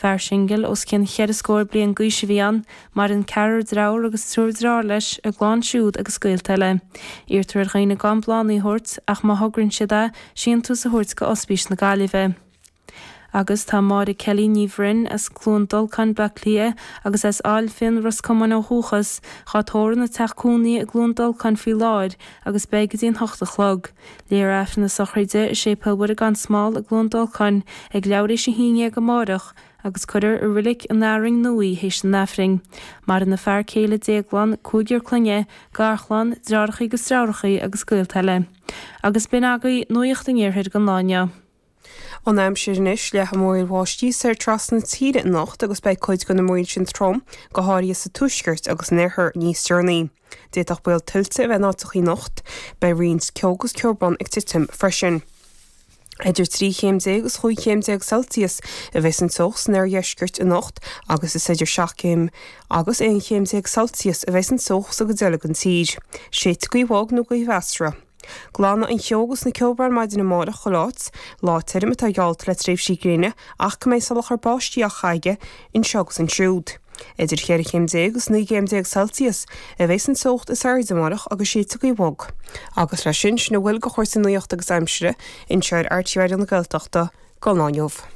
Fear singil os cionn cheithre scór bliain d'aois a bhí ann. Maireann ceathrar dearthár agus triúr deartháir leis, a gclann siúd agus gaolta eile. Iarrtar ar dhaoine gan bláthanna a thabhairt, ach má thograíonn siad é, síntiús a thabhairt go Ospís na Gaillimhe. Agus tá Máire Kelly Ní Bhroin, as Cluain Dolcáin, Bleá Cliath, agus as Ail Finn, Ros Comáin ó dhúchas, dhá tórramh ina teach cónaithe i gCluain Dolcáin faoi láthair agus beidh go dtí an h-ocht a chlog. Léifear Aifreann na sochraide i Séipéal Mhuire gan Smál i gCluain Dolcáin ag leathuair théis a haon dhéag amáireach agus cuirfear i Roilic an Fhearainn Nua í théis an Aifrinn. Maireann a fear céile Déaglán, cúigear clainne, garchlann, deartháireacha agus deirfiúracha agus gaolta eile. Agus b'in agaibh Nuacht an Iarthair don lá inniu. An aimsir anois, leathfaidh múraíl bháistí soir trasna na tíre anocht agus beidh cuid de na múraíl sin trom, go háirithe sa tuaisceart agus san oirthear níos deireanaí. D'fhéadfadh baol tuilte a bheith in áiteachaí anocht. Beidh roinnt ceo agus ceobhrán ag titim freisin. Idir 13 chéim agus 15 chéim Celsius a bheas an teocht san oirdheisceart anocht agus is idir 7 chéim agus 11 chéim Celsius a bheas an teocht sa gcuid eile den tír. Séidfidh gaoth bhog nó gaoth mheasartha. Glanfaidh an cheo agus na ceobhráin maidin amárach chuile áit. Lá tirim atá geallta le tréimhsí gréine ach go mbeidh salachar báistí á chaitheamh anseo agus ansiúd. Idir cheithre chéim déag agus 19 gcéim Celsius a bheas an teocht is airde amárach agus séidfidh gaoth bhog. Agus leis sin, sin a bhfuil de chúrsaí nuachta agus aimsire anseo ar RTÉ Raidió na Gaeltachta don lá inniu.